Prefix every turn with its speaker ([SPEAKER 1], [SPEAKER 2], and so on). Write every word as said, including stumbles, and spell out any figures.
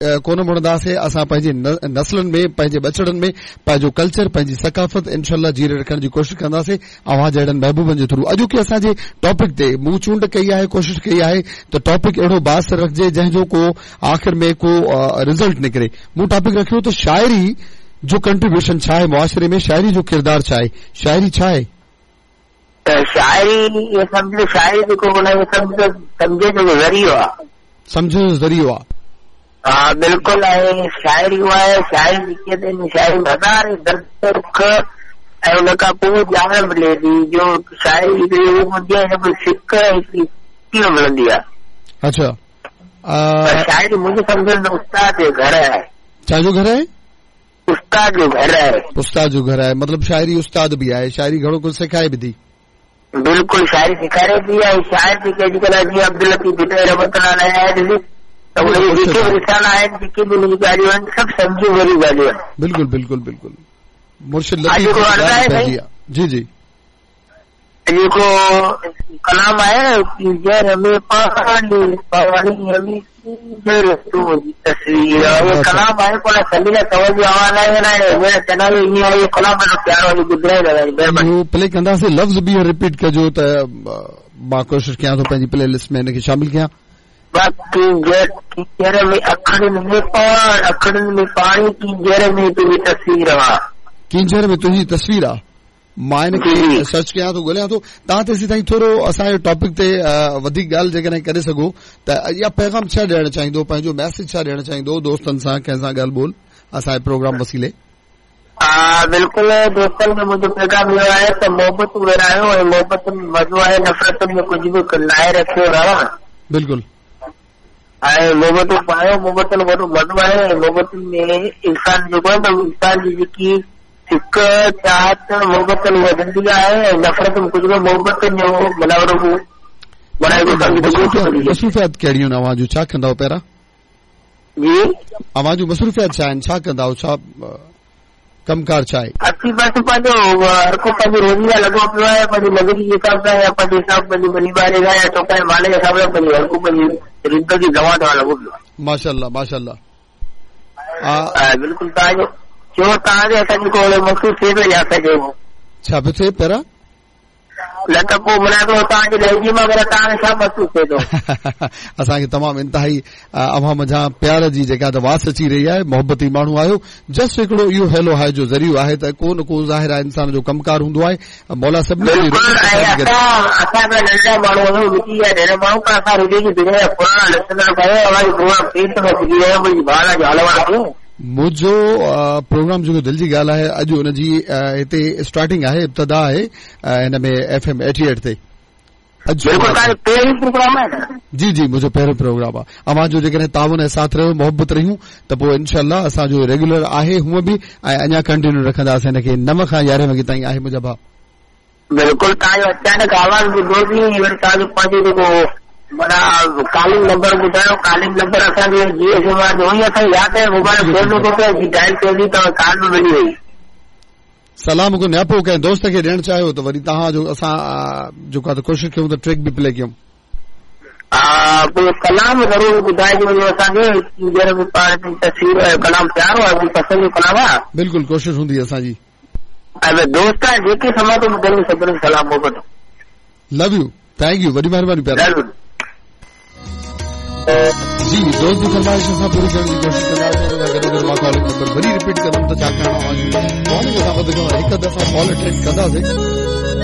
[SPEAKER 1] कोन मुड़ंदासीं। असां पंहिंजे नस्लनि में, पंहिंजे ॿचड़नि में पंहिंजो कल्चर, पंहिंजी सकाफ़त इंशाअल्लाह जीरे रखण जी कोशिशि कंदासीं अव्हां जहिड़नि महबूबनि जे थ्रू। अॼोकी असांजे टॉपिक ते मूं चूंड कई आहे, कोशिशि कई आहे त टॉपिक अहिड़ो बास रखिजे जंहिंजो को आख़िर में को रिज़ल्ट निकिरे। मूं टॉपिक रखियो त शाइरी जो कंट्रीब्यूशन छा आहे मुआशिरे में, शाइरी जो किरदारु छा आहे, शाइरी छा आहे?
[SPEAKER 2] त शाइरी इहो सम्झो, शाइरी जेको सम्झो सम्झे जो ज़रियो आहे,
[SPEAKER 1] सम्झण जो ज़रियो आहे।
[SPEAKER 2] हा बिल्कुलु आहे। शाइरी उहा आहे, शाइरी जेकी आहे शाइरी हज़ार दर्द दुख ऐं उन खां पोइ ॼाण मिले थी। जो शाइरी हिकिड़ी हूंदी आहे, सिक हिकिड़ी कीअं मिलंदी आहे।
[SPEAKER 1] अच्छा,
[SPEAKER 2] शाइरी मुंहिंजे सम्झण में उस्ताद जो घर आहे।
[SPEAKER 1] छाजो घर आहे?
[SPEAKER 2] उस्ताद जो घर आहे।
[SPEAKER 1] उस्ताद जो घर आहे, मतिलबु शाइरी उस्ताद बि आहे, शाइरी घणो कुझु सेखारे बि थी।
[SPEAKER 2] बिल्कुलु, शाइरी सेखारे थी। ऐं शाइर जेके अॼुकल्ह जीअं अब्दुल लतीफ़ भिटाई रहमतुल्लाह अलैह त उन जेके बि रिसाला आहिनि, जेके बि हुनजी ॻाल्हियूं आहिनि, सभु सम्झ भरियूं ॻाल्हियूं आहिनि।
[SPEAKER 1] बिल्कुलु बिल्कुलु बिल्कुलु। मुर्शिद लतीफ़ जी जी
[SPEAKER 2] जेको कलाम आहे न, कींजर में पाणी पाणी में कींजर तुंहिंजी तस्वीर, इहो कलाम आहे कोन समीरा कंवर जो आवाज़ आहे न, चना ईअं आहे। इहो कलाम ॾाढो प्यारो आहे, ॿुधाए
[SPEAKER 1] इहो प्ले कंदासीं। लफ़्ज़ ॿीहर रिपीट कजो त मां कोशिशि कयां थो पंहिंजी प्ले लिस्ट में हिनखे शामिल कयां।
[SPEAKER 2] कींजर कींजर में अखड़ियुनि में पाणी, अखड़ियुनि में पाणी, कींजर में तुंहिंजी तस्वीर आहे।
[SPEAKER 1] कींजर में तुंहिंजी तस्वीर आहे। मां हिनखे सर्च कयां थो, ॻोल्हियां थो। तव्हां तेसीं ताईं थोरो असांजे टॉपिक ते वधीक ॻाल्हि जेकॾहिं करे सघो त, या पैगाम छा ॾियणु चाहींदो, पंहिंजो मैसेज छा ॾियणु चाहींदो दोस्तनि सां, कंहिंसां ॻाल्हि ॿोल असांजे प्रोग्राम वसीले?
[SPEAKER 2] हा बिल्कुलु, दोस्तनि खे मुंहिंजो पैगाम इहो आहे त मोहबतूं विरायो ऐं मोहबतुनि में मज़ो आहे, नफ़रतुनि में कुझु बि नाहे रखियो रहण।
[SPEAKER 1] बिल्कुलु,
[SPEAKER 2] ऐं मोहबतूं पायो, मोहबतुनि में वॾो मज़ो आहे। ऐं मोहबतुनि में इंसान जेको आहे त इंसान जी जेकी सिक चाहत मोहबतुनि वधंदी आहे ऐं नफ़रत में कुझु बि मोहबतुनि जो माना वॾो
[SPEAKER 1] मसरूफ़ियात कहिड़ियूं आहिनि अव्हां जूं, छा कंदा आहियो पहिरां?
[SPEAKER 2] जी,
[SPEAKER 1] अव्हां जूं मसरूफ़ियात छा आहिनि, छा कंदा आहियो, छा कमकार छा आहे?
[SPEAKER 2] असीं बसि पंहिंजो हर को पंहिंजी रोज़ी लाइ लॻो पियो आहे, पंहिंजी मज़ूरी जे हिसाब सां या पंहिंजे हिसाब पंहिंजी ॿनी ॿारे सां या चौपाए माल जे हिसाब सां पंहिंजी हर को पंहिंजी ज़िंदगी दवा दवा लॻो पियो आहे।
[SPEAKER 1] माशाअल्लाह माशाअल्लाह।
[SPEAKER 2] बिल्कुलु, तव्हांजो चयो तव्हांजे असांखे को अहिड़ो महसूसु थिए थो या असांखे
[SPEAKER 1] छा पियो थिए पहिरां?
[SPEAKER 2] न त पोइ माना तव्हांजे लहजे मां तव्हांखे छा महसूसु थिए थो?
[SPEAKER 1] असांखे तमामु इंतिहाई अव्हां मंझां प्यार जी जेका त वास अची रही आहे, मोहबती माण्हू आहियो। जस्ट हिकिड़ो इहो हेलो हाय जो ज़रियो आहे त को न को ज़ाहिर आहे इंसान जो कमकार हूंदो आहे। मौला सभिनी
[SPEAKER 2] असां नंढा माण्हू आहियूं, विकी जा नंढा माण्हू, पर असां रेडियो जी दुनिया जा पुराणा लिसंदड़ आहियूं। अव्हांजी प्रोग्राम पेट में पुॼी वियो, मुंहिंजी भाउ जो हाल अहिवाल।
[SPEAKER 1] मुंहिंजो प्रोग्राम जेको दिलि जी ॻाल्हि आहे, अॼु हुनजी हिते स्टार्टिंग आहे, इब्तिदा आहे हिन में एफ एम एटी एट ते।
[SPEAKER 2] पहिरियों प्रोग्राम आहे न?
[SPEAKER 1] जी जी, मुंहिंजो पहिरियों प्रोग्राम आहे। अव्हांजो जेकॾहिं ताउन ऐं साथ रहियो, मोहबत रहियूं त पोइ इंशाअल्लाह असांजो रेगुलर आहे हूअं बि, ऐं अञा कंटिन्यू रखंदासीं हिनखे। नव खां यारहें वॻे ताईं आहे मुंहिंजा भाउ।
[SPEAKER 2] बिल्कुलु, तव्हांजो अचानक आवाज़ ॿुधोसीं, वरी तव्हांजो पंहिंजो जेको माना कॉलिंग नंबर ॿुधायो, कॉलिंग नंबर असांजे जियो सिम आहे, उहो ई असांखे यादि आहे, मोबाइल फोन नथो पिए, डायल कयोसीं त कॉल बि मिली वई।
[SPEAKER 1] सलाम को न्यापो कंहिं दोस्त खे ॾियणु चाहियो त वरी तव्हांजो असां जेको आहे त कोशिशि कयूं त ट्रैक बि प्ले कयूं।
[SPEAKER 2] हा, पोइ कलाम ज़रूरु ॿुधाइजो असांखे, तस्वीर कलाम प्यारो आहे, पसंदि जो कलाम आहे।
[SPEAKER 1] बिल्कुलु, कोशिशि हूंदी असांजी।
[SPEAKER 2] ऐं दोस्त आहे जेके सम्झां थो ॿुधनि सभिनी सलाम मोहबत।
[SPEAKER 1] लव you, thank you, वॾी महिरबानी प्यारा जी। दोस्त जी फरमाइश असां पूरी करण जी कोशिशि कंदासीं। हुन सां गॾो गॾु मां कॉलिंग नंबर वरी रिपीट कंदुमि त छाकाणि अव्हांजी कॉलिंग असां वधि खां हिकु दफ़ा कॉल अटेंड कंदासीं।